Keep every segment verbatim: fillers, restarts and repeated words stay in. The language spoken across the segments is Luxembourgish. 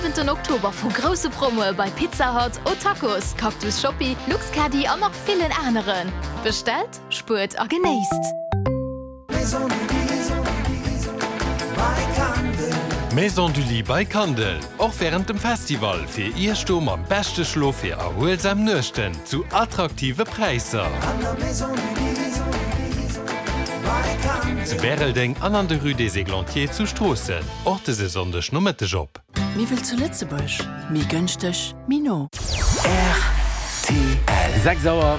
siwenten Oktober vu grousse Promoe bei Pizza Hut, O'Tacos, Cactus Shoppi, Luxcaddy an nach villen aneren. Bestellt, spuert a genéisst! Maison du Lit by Kandel, och wärend dem Festival fir Iech do mam beschte Schlof fir erhuelsam Nuechten zu attraktive Präisser. Zu Bäreldeng an an der Rue des Églantiers zu Stroossen. Och dëse Sonndeg Nomëtteg op. Méi wéi zu Lëtzebuerg, méi gënschteg, méi no. R T L. Sechs Auer.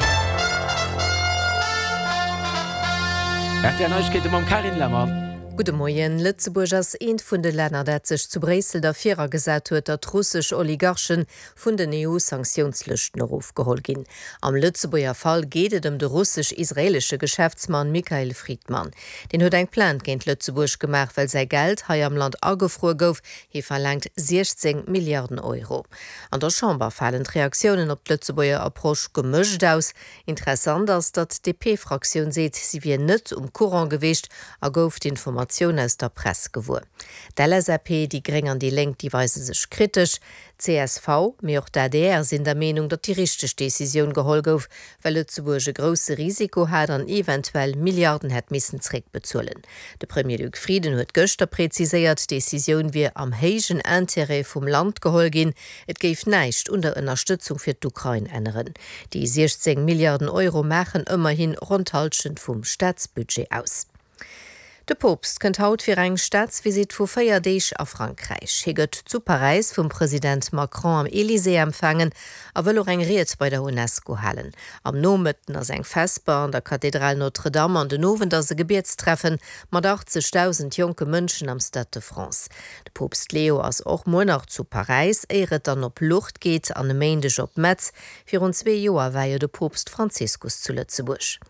R T L Neiegkeete mam Carine Lemmer. Gudde Moien. Lëtzebuerg ass eent vun de Länner, dat sech zu Bréissel derfir agesat huet, datt russesch Oligarchen vun den E U-Sanktiounslëschten erofgeholl ginn. Am Lëtzebuerger Fall geet et ëm de russesch-israeelesche Geschäftsmann Mikhail Fridman. Deen huet eng Plainte géint Lëtzebuerg gemaach, well säi Geld hei am Land agefruer gouf. Hie verlaangt siechzéng Milliarden Euro. An der Chamber falen d'Reaktiounen op d'Lëtzebuerger Approche gemëscht aus. Interessant ass, datt d'D P-Fraktioun seet, si wier net um Courant gewiescht a gouf d'Informatioun aus der Press gewuer. D'L S A P, déi Gréng an déi Lénk, déi weise sech kritesch. C S V, mee och d'A D R sinn der Meenung, datt déi richteg Decisioun geholl gouf, well Lëtzebuerg e grousse Risiko hat an eventuell Milliarden hätt missen zréckbezuelen. De Premier Luc Frieden huet gëschter präziséiert, d'Decisioun wier am héijen Interêt vum Land geholl ginn. Et géif näischt un der Ënnerstëtzung fir d'Ukrain änneren. Déi siechzéng Milliarden Euro maachen ëmmerhin ronn d'Hallschent vum Staatsbudget aus. De Poopst kënnt haut fir eng Staatsvisitt vu véier Deeg a Frankräich. Hie gëtt zu Paräis vum President Macron am Elysée empfaangen a wëll och eng Ried bei der UNESCO halen. Am Nomëtten ass eng Vesper an der Kathedral Notre-Dame an den Owend ass e Gebietstreffen mat achtzegdausend jonke Mënschen am Stade de France. De Poopst Leo ass och muer nach zu Paräis, éier et dann op Lourdes geet an e Méindeg op Metz. Virun zwee Joer war jo de Poopst Franziskus zu Lëtzebuerg.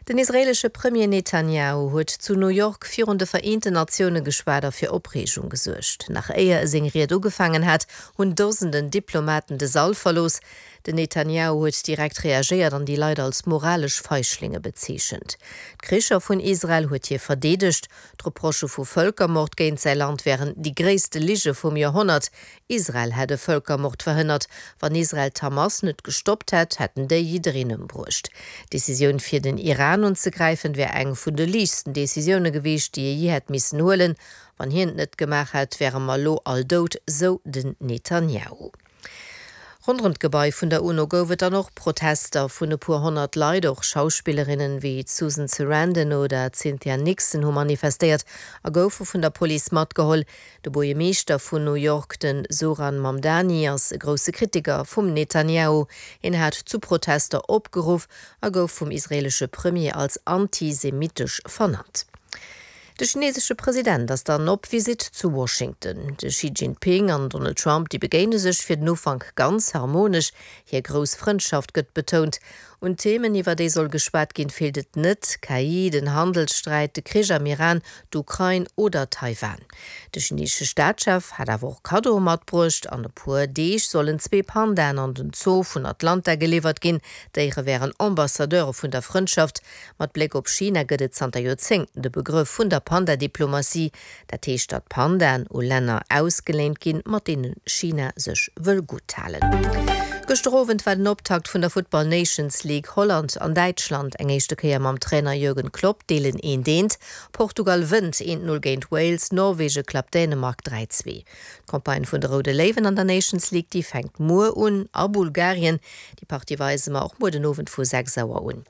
Den israeelesche Premier Netanjahu huet zu New York virun de Vereenten Natioune geschwat a fir Opreegung gesuergt. Nach éier e seng Ried ugefaangen hat, hunn Dosenden Diplomaten de Sall verlooss. Den Netanjahu huet direkt reagéiert an déi Leit als moralesch Feiglinge bezeechent. D'Kricher vun Israel huet hie verdeedegt, d'Reprochë vu Vëlkermord géint säi Land wären déi gréisste Lige vum Joerhonnert. Israel hätt e Vëlkermord verhënnert. Wann Israel d'Hamas net gestoppt hätt, hätten déi jiddereen ëmbruecht. D'Decisioun fir den Iran unzegräifen, wär eng vun de liichtsten Decisioune gewiescht, déi e jee hätt missen huelen. Wann hien et net gemaach hätt, wäre mer elo all dout, sou den Netanjahu. Ronderëm d'Gebai vun der UNO gouf et dann och Protester vun e puer honnert Leit, och Schauspillerinnen wéi d'Susan Sarandon oder d'Cynthia Nixon hu manifestéiert a goufe vun der Police matgeholl. De Buergermeeschter vun New York, den Zohran Mamdani, ass e grousse Kritiker vum Netanjahu. Hien hat zu Protester opgeruff a gouf vum israeelesche Premier als antisemitesch vernannt. De chineesesche President ass dann op Visitt zu Washington. De Xi Jinping an Donald Trump, déi begéine sech fir den Ufank ganz harmonesch, hir grouss Frëndschaft gëtt betount. Un Themen, iwwer déi soll geschwat ginn, feelt et net, K I, den Handelssträit, de Krich am Iran, d'Ukrain oder Taiwan. De chineesesche Staatschef hat awer och Kaddoe matbruecht. An e puer Deeg sollen zwee Pandaen an den Zoo vun Atlanta geliwwert ginn. D'Déiere wären Ambassadeure vun der Frëndschaft. Mat Bléck op China gëtt et zanter Joerzéngten de Begrëff vun der Panda-Diplomatie. Dat heescht, datt Pandaen u Länner ausgeléint ginn, mat deene China sech wëll gutt halen. Gëschter Owend war den Optakt vun der Football Nations League. Holland an Däitschland, eng éischte Kéier mam Trainer Jürgen Klopp, deelen eent eent. Portugal wënnt eent null géint Wales, Norwege klappt Dänemark dräi zwee. D'Campagne vun de Roude Léiwen an der Nations League, déi fänkt muer un a Bulgarien. Déi Partie weise mer och muer den Owend vu sechs Auer un.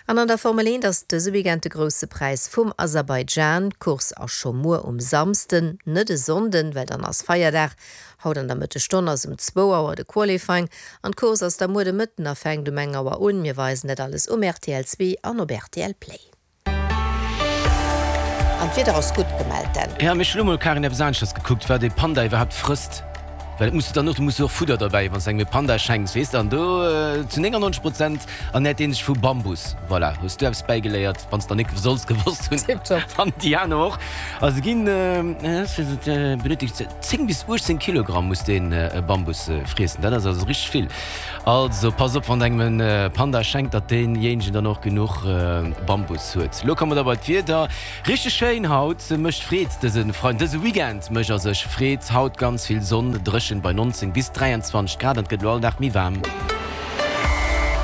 An an der Formel eent ass dëse Weekend de Grousse Präis vum Aserbaidschan. D'Course ass scho muer um Samsden, net e Sonnden, well dann ass Feierdag. Haut an der Mëttesstonn ass um zwou Auer de Qualifying an d'Course ass da muer de Mëtten a fänkt um eng Auer un. Mir weisen dat alles um R T L zwee an op R T L Play. An d'Wieder ass gutt gemellt, Dan. Ja, mee ech hunn elo mol, Karin, eppes aneschters gekuckt, wat e Panda iwwerhaapt frësst. Well et muss du dann och, du muss jo och Fudder derbäi, wann s de engem e Panda schenks, weess de, an do zu néngannonzeg Prozent ernährt dee sech vu Bambus. Voilà, hues du eppes bäigeléiert, wann s der nik solls gewosst hunn. Tiptop. An d'Diane och. Also ginn, benötigt zéng bis uechtzéng Kilogramm muss deen Bambus friessen. Dat ass also richteg vill. Also pass op, wann der engem e Panda schenkt, datt deenjéinegen dann och genuch Bambus huet. Lo komme mer da bei d'Wieder. Richteg schéin haut, mécht Freed dëse Freiden, dëse Weekend mécht a sech Freed. Haut ganz vill Sonn, dréchen bei neunzéng bis dräianzwanzeg Grad an et gëtt elo all Dag méi waarm.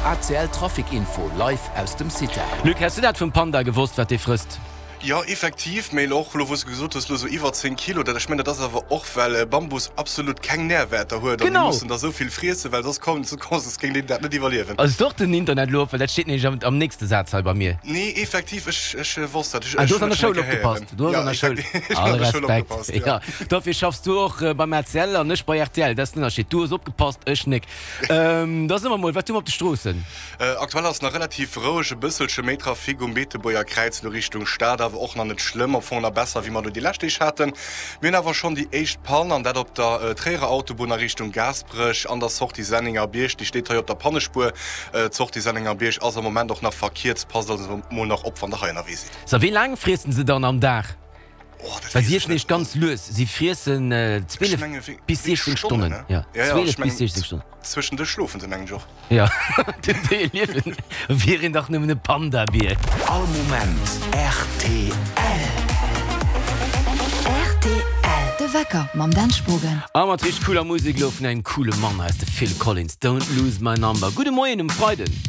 A C L Trafic Info live aus dem CITA. Luc, häss du dat vum Panda gewosst, wat dee frësst? Jo, effektiv, mee elo och elo wou s de gesot hues, elo sou iwwer zéng Kilo, dat, ech mengen, dat ass awer och well Bambus absolut keng Nährwäerter huet an déi Genau! mussen der sou vill friessen, well soss kommen, soss géing deen dat net iwwerliewen. Ass et och den Internet elo op, well dat steet nämlech am, am nächste Saz hei bei mir. Nee, effektiv, ech, ech wosst dat, ech, Ah, du ech hues an hunn der dat schonn Schoul eng Kéier opgepasst, héieren. du hues Ja, an der Schoul, effektiv, ech hunn all an der Schoul Respekt, opgepasst, ja. ja. Dofir schaffs du och beim R T L an ech bei R T L, dat ass den Ënnerscheed, du hues opgepasst, ech nik. Da soe mer mol, wat hu mer op de Stroossen? Aktuell ass nach relativ roueg, e bësselche méi Trafic um Beetebuerger Kräiz lo Richtung Stad, awer och nach net schlëmm, am Fong nach besser wéi mer lo déi lescht Deeg haten. Mir hunn awer schonn déi éischt Pann, an dat op der Tréierer Autobunn a Richtung Gaasperech an der Sortie Sennengerbierg. Déi steet hei op der Pannespuer. D'Sortie Sennengerbierg ass am Moment och nach verkierzt. Passt also mol nach op wann der hei ënnerwee sidd. So, wéi laang friessen se dann am Dag? Oh, dat Well si weess ech iessen net. nämlech ganz lues, si friessen Ech zwielef menge wéi bis wéi siechzéng Stonnen, Stonnen. ne? Ja, Ja, ja, ech zwielef bis mengen siechzéng Stonnen. zwëschen Dësch schlofen se mengen ech och. Ja, den Déier liewen, wier een dach nëmmen e Panda-Bier. All Moment R T L. R T L. De Wecker mam Dan Spogen. A mat richteg cooler Musek lo vun engem coole Mann, hei ass de Phil Collins, Don't Lose My Number. Gudde Moien um Freiden.